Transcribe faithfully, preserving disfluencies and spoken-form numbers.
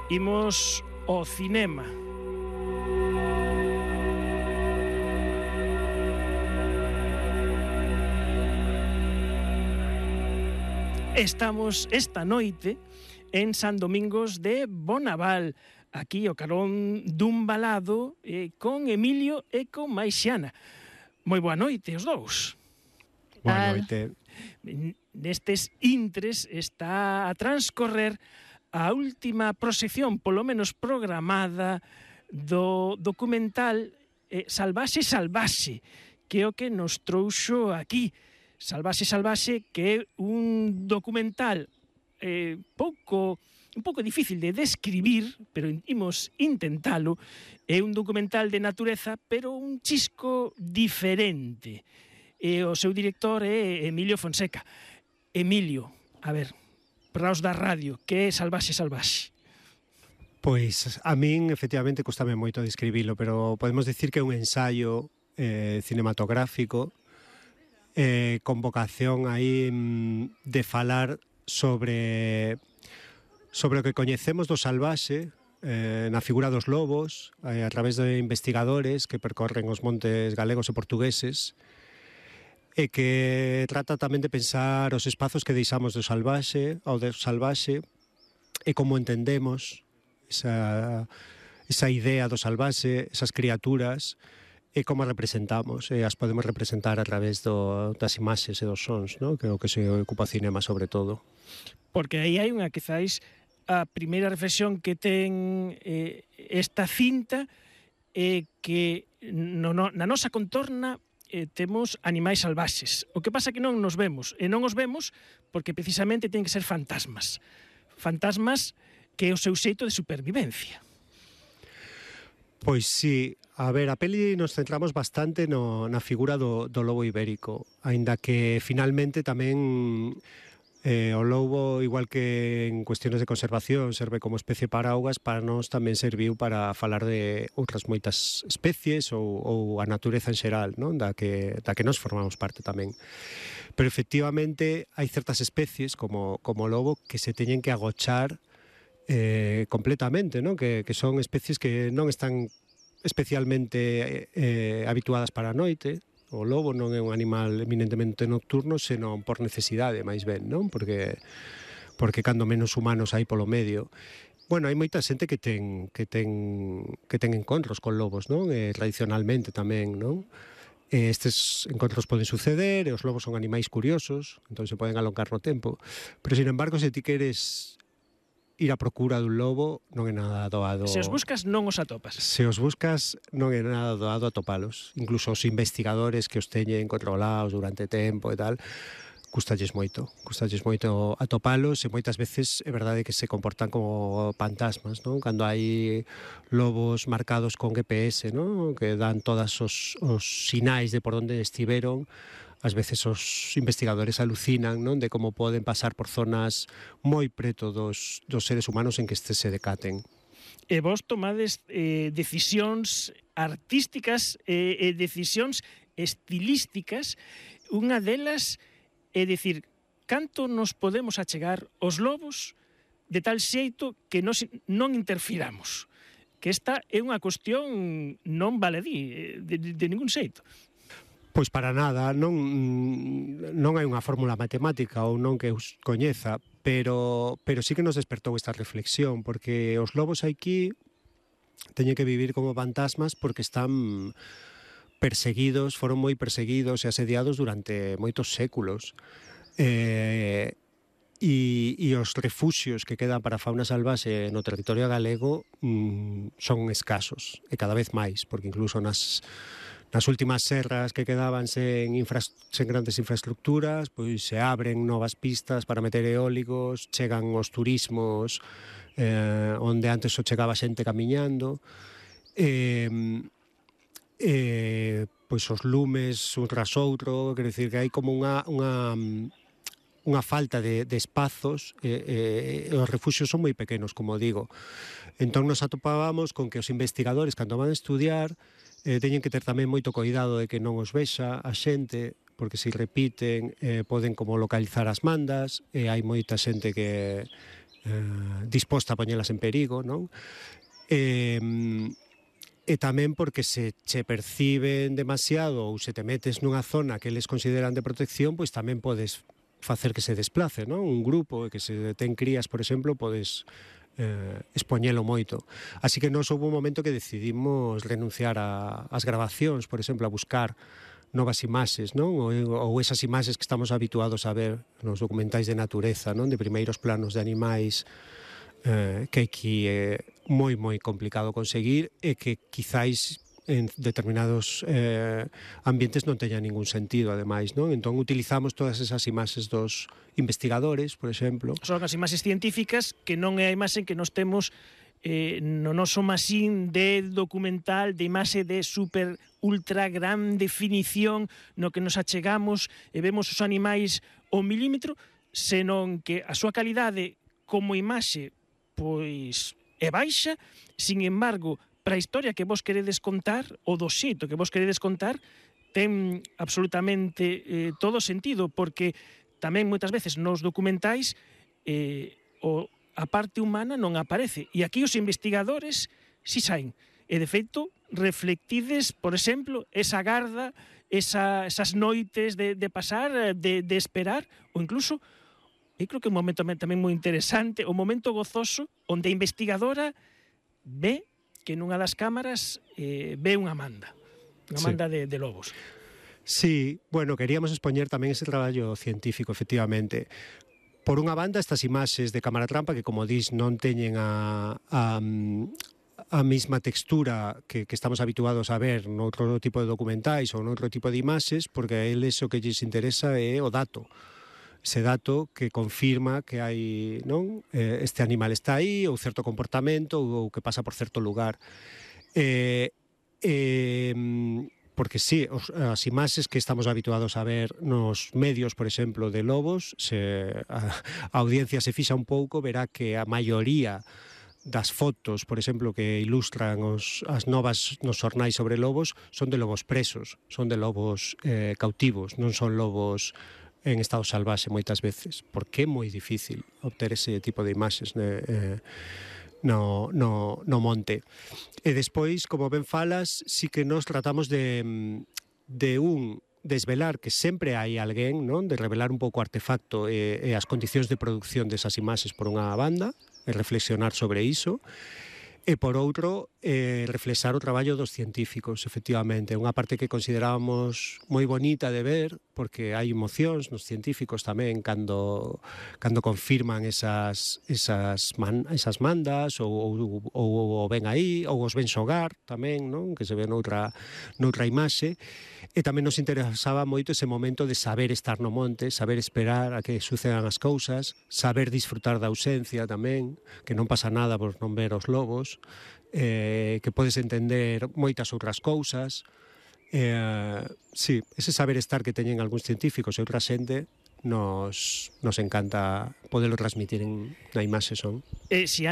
imos ao cinema. Estamos esta noite en San Domingos de Bonaval, aquí ao carón dun balado eh, con Emilio e con Maixiana. Moi boa noite os dous. Boa noite. Nestes intres está a transcorrer a última proxección, polo menos programada, do documental eh, Salvaxe, Salvaxe, que é o que nos trouxo aquí. Salvaxe, Salvaxe, que é un documental eh, pouco, un pouco difícil de describir, pero imos intentalo. É un documental de natureza, pero un chisco diferente. E o seu director é Emilio Fonseca. Emilio, a ver, para os da radio, que é Salvaxe, Salvaxe? Pois a min efectivamente costame moito describilo, pero podemos dicir que é un ensaio eh, cinematográfico eh, con vocación aí de falar sobre sobre o que coñecemos do salvaxe eh, na figura dos lobos eh, a través de investigadores que percorren os montes galegos e portugueses, e que trata tamén de pensar os espazos que deixamos do salvaxe, ao do salvaxe, e como entendemos esa, esa idea do salvaxe, esas criaturas, e como as representamos, e as podemos representar a través do, das imaxes e dos sons, ¿no? Que é o que se ocupa o cinema sobre todo. Porque aí hai unha, quizáis, a primeira reflexión que ten eh, esta cinta é eh, que no, no, na nosa contorna eh, temos animais salvaxes. O que pasa que non nos vemos, e non os vemos porque precisamente ten que ser fantasmas. Fantasmas que é o seu xeito de supervivencia. Pois sí, a ver, a peli nos centramos bastante no, na figura do, do lobo ibérico, aínda que finalmente tamén eh, o lobo, igual que en cuestiones de conservación, serve como especie paraugas, para nós tamén serviu para falar de outras moitas especies ou, ou a natureza en xeral, non? Da que, da que nos formamos parte tamén. Pero efectivamente hai certas especies como, como o lobo que se teñen que agochar eh, completamente, non? Que, que son especies que non están especialmente eh, habituadas para a noite. O lobo non é un animal eminentemente nocturno, senón por necesidade, máis ben, non? Porque porque cando menos humanos hai polo medio. Bueno, hai moita xente que ten que ten que ten encontros con lobos, non? Eh, tradicionalmente tamén, non? Eh, estes encontros poden suceder, e os lobos son animais curiosos, entón se poden alongar no tempo. Pero, sin embargo, se ti queres ir a procura dun lobo, non é nada doado. Se os buscas, non os atopas. Se os buscas, non é nada doado atopalos. Incluso os investigadores que os teñen controlados durante tempo e tal, custalles moito. Custalles moito atopalos, e moitas veces é verdade que se comportan como fantasmas, non? Cando hai lobos marcados con G P S, non? Que dan todos os, os sinais de por onde estiveron, ás veces os investigadores alucinan, non? De como poden pasar por zonas moi preto dos, dos seres humanos en que estes se decaten. E vos tomades eh, decisións artísticas e eh, eh, decisións estilísticas. Unha delas é dicir, canto nos podemos achegar aos lobos de tal xeito que nos, non interfiramos. Que esta é unha cuestión non baladí, de, de, de ningún xeito. Pois para nada, non, non hai unha fórmula matemática ou non que os coñeza, pero, pero sí que nos despertou esta reflexión, porque os lobos aquí teñen que vivir como fantasmas porque están perseguidos, foron moi perseguidos e asediados durante moitos séculos. Eh, e, e os refuxios que quedan para a fauna salvaxe no territorio galego mm, son escasos, e cada vez máis, porque incluso nas nas últimas serras que quedaban sen, infra, sen grandes infraestructuras, pois se abren novas pistas para meter eólicos, chegan os turismos eh, onde antes só chegaba xente camiñando, e, e pois os lumes un tras outro, quer decir que hai como unha, unha, unha falta de, de espazos, e, e os refuxios son moi pequenos, como digo. Entón nos atopábamos con que os investigadores, cando van a estudiar, Eh, teñen que ter tamén moito cuidado de que non os vexa a xente, porque se repiten eh, poden como localizar as mandas, e hai moita xente que, eh, disposta a poñelas en perigo, non? E, e tamén porque se che perciben demasiado ou se te metes nunha zona que eles consideran de protección, pois tamén podes facer que se desplace, non? Un grupo que se ten crías, por exemplo, podes eh, expoñelo moito. Así que nos houve un momento que decidimos renunciar a, as grabacións, por exemplo, a buscar novas imaxes, non? Ou, ou esas imaxes que estamos habituados a ver nos documentais de natureza, non? De primeiros planos de animais, eh, que aquí é moi, moi complicado conseguir e que quizáis en determinados eh, ambientes non teña ningún sentido, ademais, non? Entón, utilizamos todas esas imaxes dos investigadores, por exemplo. Son as imaxes científicas que non é a imaxe que nos temos eh, no noso masín de documental, de imaxe de super ultra gran definición no que nos achegamos e vemos os animais ao milímetro, senón que a súa calidade como imaxe pois é baixa, sin embargo, para a historia que vos queredes contar, o do xeito que vos queredes contar, ten absolutamente eh, todo sentido, porque tamén moitas veces nos documentais eh, o, a parte humana non aparece. E aquí os investigadores si saen. E, de feito, reflectides, por exemplo, esa garda, esa, esas noites de, de pasar, de, de esperar, ou incluso, eu creo que é un momento tamén moi interesante, o momento gozoso, onde a investigadora ve que nunha das cámaras eh, ve unha manda, unha manda sí. de, de lobos. Sí, bueno, queríamos expoñer tamén ese traballo científico, efectivamente. Por unha banda, estas imaxes de cámara trampa que, como dis, non teñen a, a, a mesma textura que, que estamos habituados a ver noutro tipo de documentais ou noutro tipo de imaxes, porque a eles o que lles interesa é o dato. Ese dato que confirma que hai, non? Eh, este animal está aí, ou certo comportamento, ou, ou que pasa por certo lugar. Eh, eh, porque sí, os, as imaxes que estamos habituados a ver nos medios, por exemplo, de lobos, se a, a audiencia se fixa un pouco, verá que a maioría das fotos, por exemplo, que ilustran os, as novas nos xornais sobre lobos, son de lobos presos, son de lobos eh, cautivos, non son lobos en estado salvaxe moitas veces, porque é moi difícil obter ese tipo de imaxes eh, no, no, no monte. E despois, como ben falas, sí que nos tratamos de, de un, desvelar que sempre hai alguén, non? De revelar un pouco o artefacto e, e as condicións de produción desas imaxes por unha banda, e reflexionar sobre iso. E, por outro, eh, reflexar o traballo dos científicos, efectivamente. Unha parte que considerábamos moi bonita de ver, porque hai emocións nos científicos tamén cando, cando confirman esas, esas, man, esas mandas, ou, ou, ou, ou ven aí, ou os ven xogar tamén, non? Que se ve noutra, noutra imaxe. E tamén nos interesaba moito ese momento de saber estar no monte, saber esperar a que sucedan as cousas, saber disfrutar da ausencia tamén, que non pasa nada por non ver os lobos, eh, que podes entender moitas outras cousas. Eh, sí, ese saber estar que teñen algúns científicos e outra xente nos, nos encanta poderlo transmitir en na imaxe son. Eh, si